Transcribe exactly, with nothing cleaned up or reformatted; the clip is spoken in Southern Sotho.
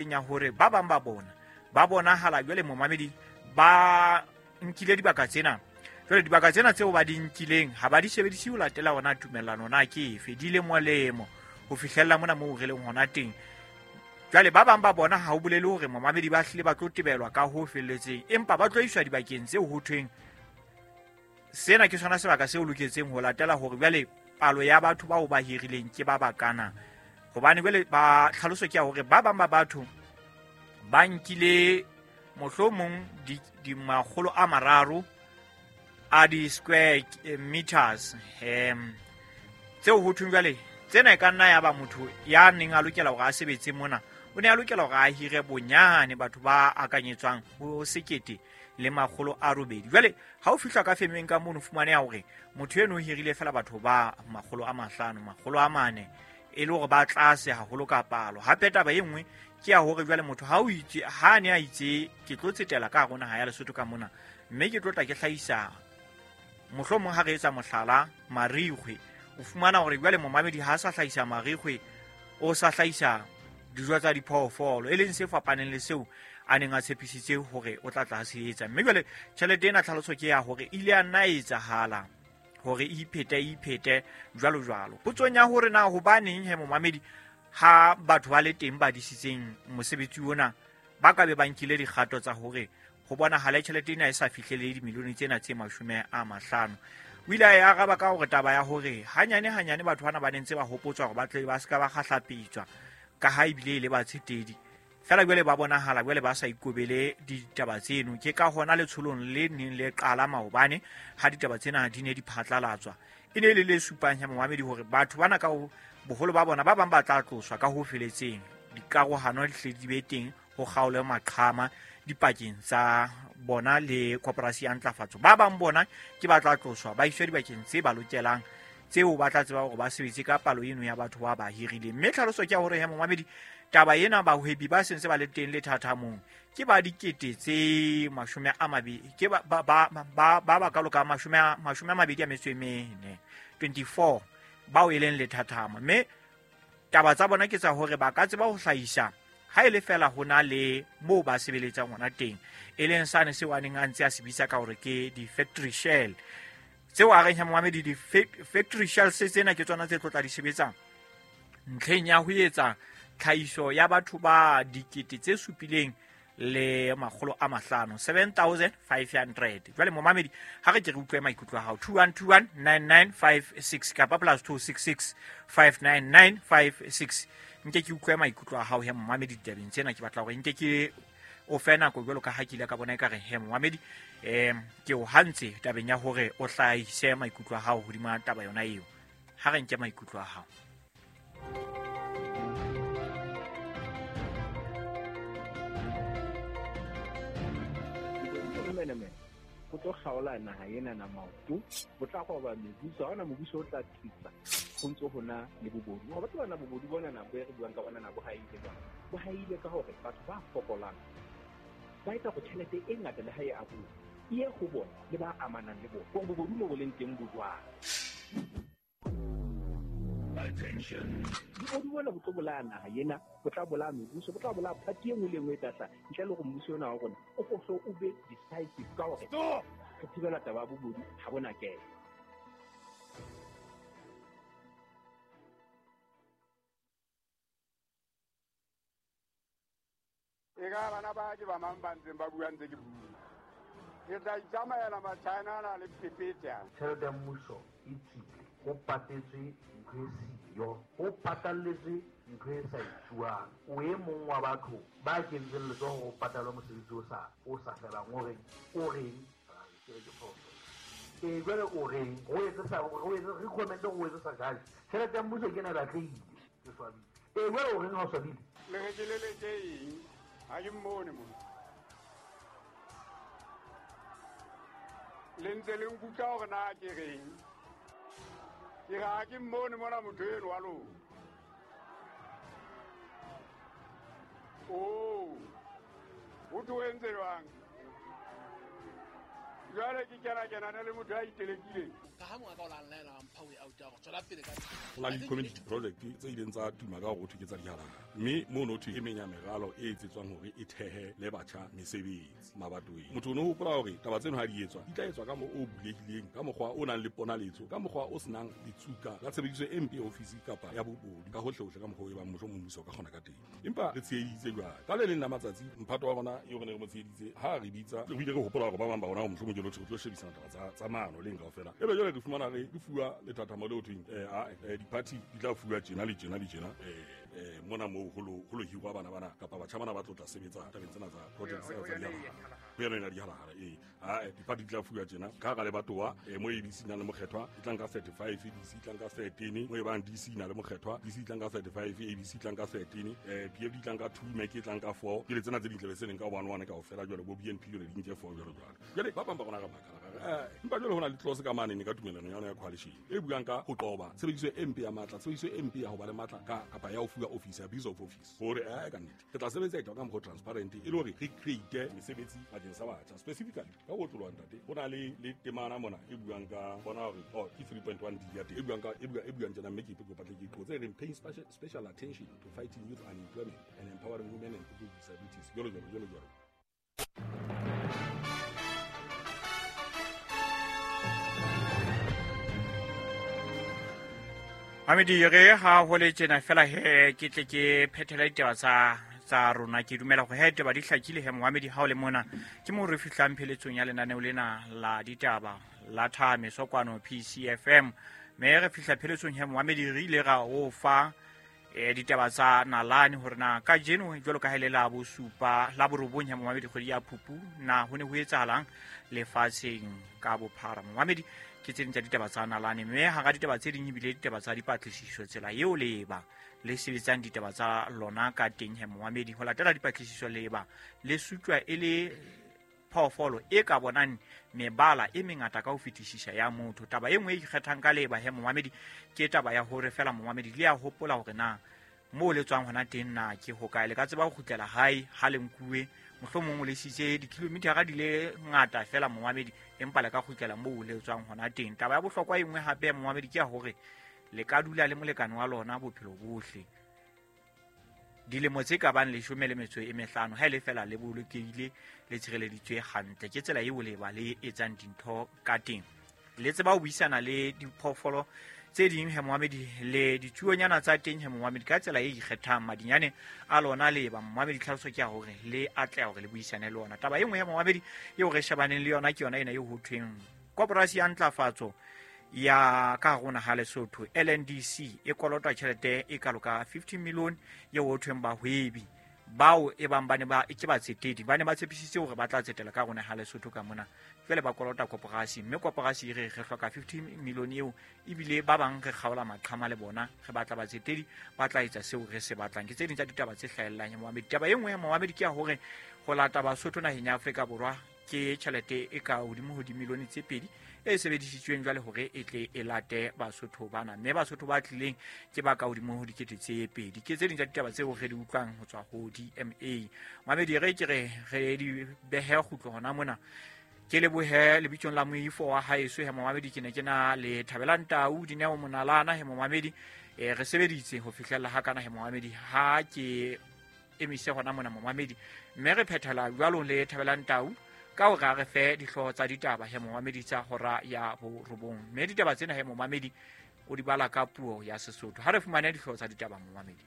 Ya hore ba bang ba bona ba bonahala jwale momamedi ba nkile dibaka tsena. Jwale dibaka tsena tseo ba di nkileng ha ba di sebedise ho latela hona tumellano na ke efe, di le molemo ho fihlella mona moo re leng hona teng. Jwale ba bang ba bona ha o bolele hore momamedi ba hlile ba tlo tebelwa ka ho felletseng, empa ba tlo iswa dibakeng tseo ho thweng sena ke sona sebaka seo loketseng ho latela hore jwale palo ya batho bao ba hirileng ke ba bakana. Hobane jwale ba tlhaloso ke ya hore ba bang ba batho ba nkile mohlomong di, di makgolo a mararo a di-square meters um tseo ho thweng jwale tsena e ka nna ya ba motho ya neng a lokela hore a sebetse mona o ne a lokela hore a hire bonyane batho ba akanyetswang ho sekete le makgolo a robedi. Jwale ha o fihla ka femeng ka mono fumaneha hore motho eno o hirile fela batho ba makgolo a mahlano, makgolo a mane, e le hore ba tlase haholo ka palo. Hape taba e nngwe ke ya hore jwale motho ha o itse ha ne a itse ke tlo tsetela ka hare ho naha ya Lesotho ka mona, mme ke tlo tla ke hlahisa mohlomong ha re etsa mohlala marikgwe, o fumana hore jwale momamedi ha sa hlahisa marikgwe, o sa hlahisa dijo tsa diphoofolo, e leng se fapaneng le seo a neng a tshepisitse hore o tla tla se etsa. Mme jwale tjhelete ena tlhaloso ke ya hore ile ya nna etsahala hore e iphete e iphete jwalo jwalo. Potsong ya hore na hobaneng he momamedi ha batho ba le teng ba disitseng mosebetsi ona ba ka be ba nkile dikgato tsa hore ho bonahale tjhelete ena e sa fihlele dimilione tsena tse mashome a mahlano. O ile a e araba ka hore taba ya hore hanyane hanyane batho bana ba ne ntse ba hopotswa hore ba tle ba se ka ba kgahlapetswa ka ha ebile e le batshetedi, fela jwale ba bonahala jwale ba sa ikobele ditaba tseno. Ke ka hona letsholong le neng le qala maobane ha ditaba tsena di ne di phatlalatswa, e ne e le le supang ya momamedi hore batho bana ka boholo ba bona ba bang ba tla tloswa ka ho feletseng, dikarohano di hle di be teng, ho kgaolwe maqhama dipakeng tsa bona le koporasi ya ntlafatso. Ba bang bona ke ba tla tloswa ba iswe dibakeng tse ba lokelang, tseo ba tla tseba hore ba sebetse ka palo eno ya batho ba ba hirileng. Mme tlhaloso ke ya hore he momamedi taba ena bahwebi ba sentse ba le teng lethathamong ke ba dikete tse mashome a mabedi, ke ba ba ba ba ba kalo ka mashome a mashome a mabedi a metso e mene, twenty-four bao e leng lethathamo. Mme taba tsa bona ke tsa hore ba ka tseba ho hlahisa ha e le fela ho na le moo ba sebeletsang hona teng, e leng sane seo a neng a ntse a se bitsa ka hore ke di-factory shell. Tseo a reng ha momamedi di-factory shells tsena ke tsona tse tlo tla di sebetsang ntlheng ya ho etsa tlhahiso ya batho ba dikete tse supileng le makgolo a mahlano, seven thousand five hundred. Jwale momamedi ha re ke re utlwe maikutlo a hao, two one two one nine nine five six kapa plus two six six five nine nine five six. Nke ke utlwe maikutlo a hao he momamedi ditabeng tsena, ke batla hore nke ke o fe nako jwalo ka ha ke ile ka bona ekare he momamedi em ke o hantse tabeng ya hore o hlahise maikutlo a hao hodima taba yona eo. Ha re nke maikutlo a hao. Ho tlo kgaola naha ena na maoto, ho tla roba mebuso, ha hona mobuso o tla tsitsa ho ntso ho na le bobodu. Ho batho bana bobodu bona na bo re buang ka bona na bo haile jwang, bo haile ka hore batho ba fokolang ba etsa go tjhelete e ngata le ha e abuwa e ye ho bona le ba amanang le bona, hore bobodu mo bo leng teng bo jwang. Bobodu bona bo tlo bolaya naha ena, bo tla bolaya mebuso, bo tla bolaya party e nngwe le e nngwe e tla hlaha ntle le hore mmuso ona wa rona o hlo o be decisive ka hore re thibela taba ya bobodu ha bona kena. E ka bana ba ke ba mang ba ntseng ba bua ntse ke bua. Ke tla itsamaela Machina ana le phephethe. Tjhelete ya mmuso e tswile, ho patetswe ntho e siyo, ho patalletswe ntho e sa etsuwang. O e mong wa batho ba kentseng letsoho ho patalwa mosebetsi o sa o sa felang, o reng o reng ke phoso. E jwale o reng o etse sa o etse recommend o etse sa judge. Tjhelete ya mmuso ke ena e batlehile, ke swabile. E jwale o reng ha o swabile? Le re ke leletse eng? Ha ke mmone mona. Le ntse le nkutlwa hore na ke reng? Ke re ha ke mmone mona motho eno wa lona. Oh, ho thwe o entse jwang? Jwale ke kena kenana le motho a itelekileng. Ka ha mongwe ka o la nlaela wa mpha way out ya gore tswela pele ka Ho na le di-community project tse ileng tsa tuma ka hore ho thwe ke tsa dihalala, mme mono thwe e meng ya meralo e etsetswang hore e thehe le batjha mesebetsi mabatoweng. Motho o no hopola hore taba tseno ha di etswa di tla etswa ka mo o bulehileng, ka mokgwa o nang le ponaletso, ka mokgwa o senang ditsuka la tshebediso e mpe ya ofisi kapa ya bobodu ka hohlehohle, ka mokgwa o e bang mohlomong mmuso o ka kgona ka teng. Empa re tsheheditse jwale ka le leng la matsatsi mphato wa rona eo re ne re mo tsheheditse ha re bitsa re bile re hopola hore ba bang ba rona mohlomong ke lo re tlo shebisana taba tsa tsa maano leng kaofela. Ebe jwale re fumana re re fuwa lethathamo leo thweng eh a di-party di tla fuwa tjena le tjena le tjena eh mona moo ho lo ho lo hirwa bana bana kapa batjha bana ba tlo tla sebetsa tabeng tsena tsa projects tsena tsa dihalala. Ho yona ena dihalala ee a di-party di tla fuwa tjena ka hara lebatowa mo A B C na le mokgethwa e tlang ka thirty-five, D C e tlang ka thirteen, mo e bang D C na le mokgethwa D C e tlang ka thirty-five, A B C e tlang ka thirteen, eh P F D e tlang ka two, M E C e tlang ka four, ke le tsena tse ding tlabe se leng ka one one kaofela jwale bo B N P jwale di nke four jwalo jwalo. Jwale ba bang ba rona re makala eh empa jwale ho na le clause ka mane ne ka tumelano ya yona ya coalition e buang ka ho qoba tshebediso e mpe ya matla, tshebediso e mpe ya ho ba le matla ka kapa ya ho fuwa office, abuse of office, hore eh ka nnete re tla sebetsa etwa ka mokgwa transparent e le hore re create mesebetsi bakeng sa batjha specifically ka ho otloloha ntate. Ho na le le temana mona e buang ka bona hore oh ke three point one D ya teng e buang ka e buang e buang tjena mme ke ipe kopa tle ke iqotse e reng paying special, special attention to fighting youth unemployment and empowering women and people with disabilities jwalo jwalo jwalo jwalo. Mamedi re ha ho le tjena fela he ke tle ke phethela ditaba tsa tsa rona. Ke dumela hore he ditaba di hlakile he Mohamedi ha o le mona ke mo re fihlang pheletsong ya lenaneo lena la ditaba la Thameso kwano P C F M. Mme re fihla pheletsong he Mohamedi re ile ra o fa e ditaba tsa nalane hore na kajeno jwalo ka ha ile la bosupa la borobong he Mohamedi kgwedi ya Phupu na ho ne ho etsahalang lefatsheng ka bophara. Mohamedi ke tse ding tsa ditaba tsa nalane, mme hara ditaba tse ding ebile ditaba tsa dipatlisiso tsela eo leba le sebetsang ditaba tsa lona ka teng he Mohamedi. Ho latela dipatlisiso leba le sutjwa e le phoofolo e ka bonang mebala e mengata ka ho fetisisa ya motho. Taba e nngwe e ikgethang ka leba he Mohamedi ke taba ya hore fela Mohamedi le ya hopola hore na moo le tswang hona teng na ke hokae, le ka tseba ho kgutlela hae ha le nkuwe mohlomong o le sitse dikilomitara di le ngata fela Mohamedi, empa le ka kgutlela moo le tswang hona teng. Taba ya bohlokwa e nngwe hape Mohamedi ke ya hore le ka dula le molekane wa lona bophelo bohle dilemo tse ka bang leshome le metso e mehlano ha e le fela le bolokehile le tshireleditswe hantle. Ke tsela eo leba le etsang dintho ka teng. Le tseba ho buisana le diphoofolo tse ding he Mohamedi le ditsuonyana tsa teng he Mohamedi ka tsela e ikgethang. Madinyane a lona leba Mohamedi tlhaloso ke ya hore le atleha hore le buisane le ona. Taba e nngwe he Mohamedi eo re shebaneng le yona ke yona ena eo ho thweng koporasi ya ntlafatso ya ka rona ha Lesotho L N D C e kolotwa tjhelete e kalo ka fifty million eo ho thweng bahwebi bao e bang ba ne ba ke batsetedi ba ne ba tshepisitse hore ba tla tsetela ka rona ha Lesotho ka mona, jwale ba kolota koporasi mme koporasi e re re hloka fifty million eo, ebile ba bang re kgaola maqhama le bona re batla batsetedi ba tla etsa seo re se batlang. Ke tse ding tsa ditaba tse hlahellang Mohamedi. Taba e nngwe ya Mohamedi ke ya hore ho lata Basotho naheng ya Afrika Borwa ke tjhelete e ka hodimo ho dimilione tse pedi e sebedisitsweng jwale hore e tle e late Basotho bana, mme Basotho ba tlileng ke ba ka hodimo ho dikete tse pedi. Ke tse ding tsa ditaba tseo re di utlwang ho tswa ho D M A. Mohamedi re ke re re di behe kgutlo hona mona. Ke lebohe lebitsong la moifo wa haeso he Mohamedi, ke ne ke na le Thabelang Tau Dineo Monalana he Mohamedi. E re sebeditse ho fihlella ha kana he Mohamedi ha ke emise hona mona Mohamedi, mme re phethela jwalo le Thabelang Tau ka hore a re fe dihlooho tsa ditaba he Mohamedi tsa hora ya borobong. Mme ditaba tsena he Mohamedi o di bala ka puo ya Sesotho. Ha re fumane dihlooho tsa ditaba Mohamedi.